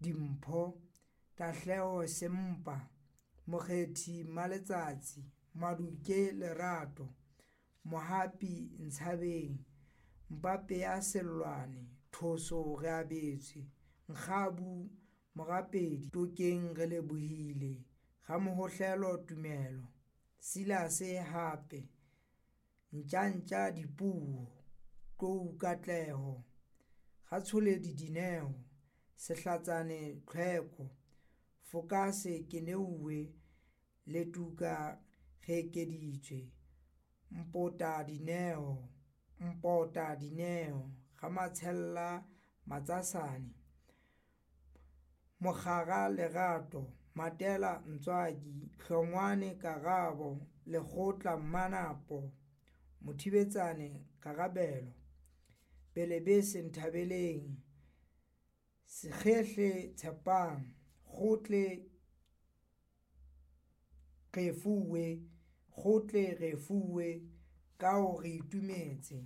Dimpho, Tahleho Sempa, Mokgethi Mmaletsatsi, Maduke Lerato, Mohapi Ntshabeng, Mpapeya Sellwane, Thoso Reabetswe, Nkgabu Morapedi, Tokeng Relebohile, Ramohohlelo Tumelo, Silas Hape, Ntjantja Dipuo, Tlou Katleho, Ratsholedi Dineo, Sehlatsane Tlhweko, Fokase Keneuwe, Letuka Reekeditswe, Mpota Dineo, Mpota Dineo, Ramatshela Matsasane, Mokgara Lerato, Matela Ntswaki, Hlongwane Karabo, Lekgotla Mmanapo, Mothibetsane Karabelo, Belebese Nthabeleng, Sekgehle Tshepang, Kgotle Refuwe, Kgotle Refuwe, Kao re itumetse,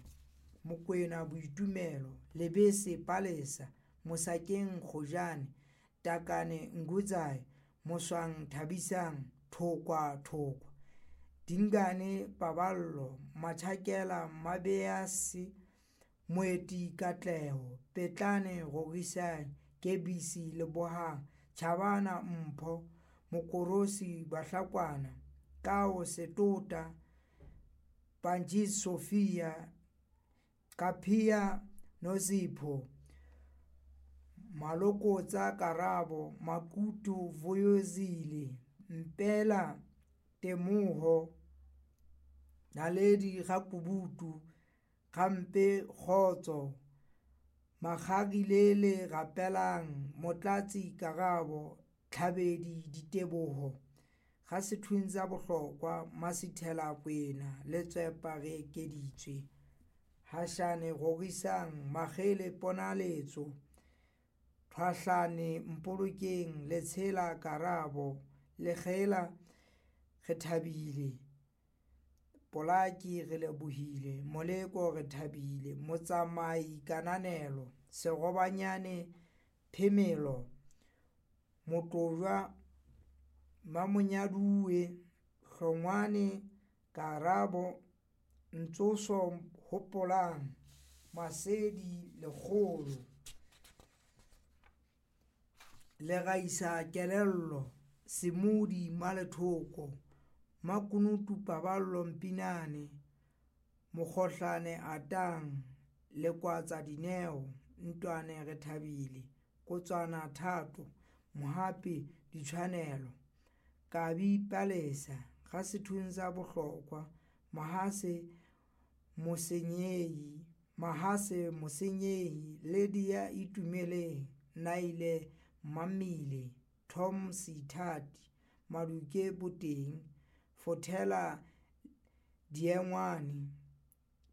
Mokwena Boitumelo, Lebese Palesa, Mosakeng Kgojane, Takane Ngudzai, Moswang Thabisang, Thokwa Thokwa, Dingane Paballo, Machakela Mabease, Moeti Katleho, Petlane Rorisang, Kebisi Lebohang, Chabana Mpho, Mokorosi Bahlakwana, Kao Setota, Panjis Sophia, Qaphiya Nozipho, Malokotsa Karabo, Makutu Vuyozile, Mpela Temoho, Naledi Rakubutu, Kgampe Kgotso, Makgarilele Rapelang, Motlatsi Karabo, Tlhabedi Diteboho, Ga Bohlokwa, Masithela Kwena, Letswepa Reekeditswe, Hashane Rorisang, Makgele Ponaletso, Thwahlane Mpolokeng, Letshela Karabo, Lekgela Rethabile, Polaki Relebohile, Moleko Rethabile, Motsamai Kananelo, Serobanyane Phemelo, Motlojwa Mamonyaduwe, Hlongwane Karabo, Ntsoso Hopolang, Masedi Lekgolo, Leraisa Kelello, Semodi Malethoko, Makunutu Paballo Mpinane, Mokgohlane Atang, Lekwatsa Dineo, Ntwane Rethabile, Kotswana Thato, Mohapi Ditshwanelo, Kabi Palesa, Ga Bohlokwa, Mahase Mosenyehi, Mahase Mosenyehi, Lydia Itumeleng, Naile Mamile, Tom Seithati, Maduke Boteng, Fothela Diengwane,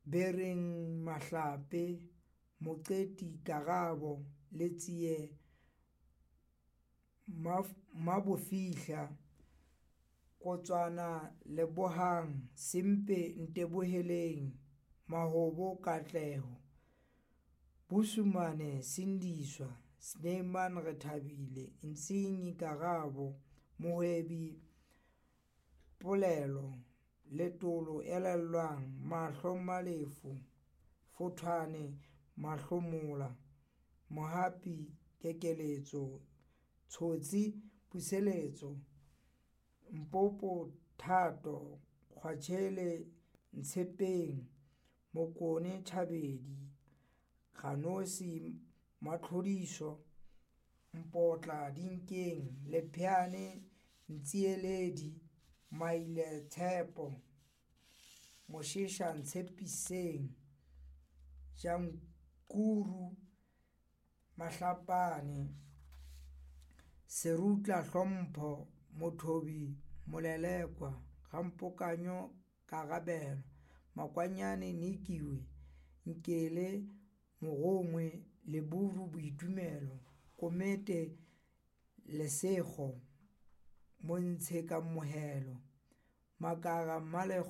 Bereng Mahlape, Moqeti Karabo, Letsie Mabofihla, Kotswana Lebohang, Sempe Nteboheleng, Mahobo Katleho, Busumane Sindiswa, Snyman Rethabile, Ntsinyi Karabo, Mohwebi Polelo, Letolo Elelwang, Mahlo Malefu, Fothwane Mahlomola, Mohapi Kekeletso, Tshotsi Puseletso, Mpopo Thato, Kgwatshele Ntshepeng, Mokone Thabedi, Ganosi Matlhodiso, Mpotla Dinkeng, Lepheane Ntsieledi, Maile Tshepo, Mosesha Ntshepiseng, Jankuru Mahlapane, Serutla Hlompho, Mothobi Molelekwa, Gampokanyo Karabelo, Makwanyane Nikiwe, Nkele Mogongwe, Leburu Boitumelo, Komete Lesego, Montshe Kamohelo, Makara.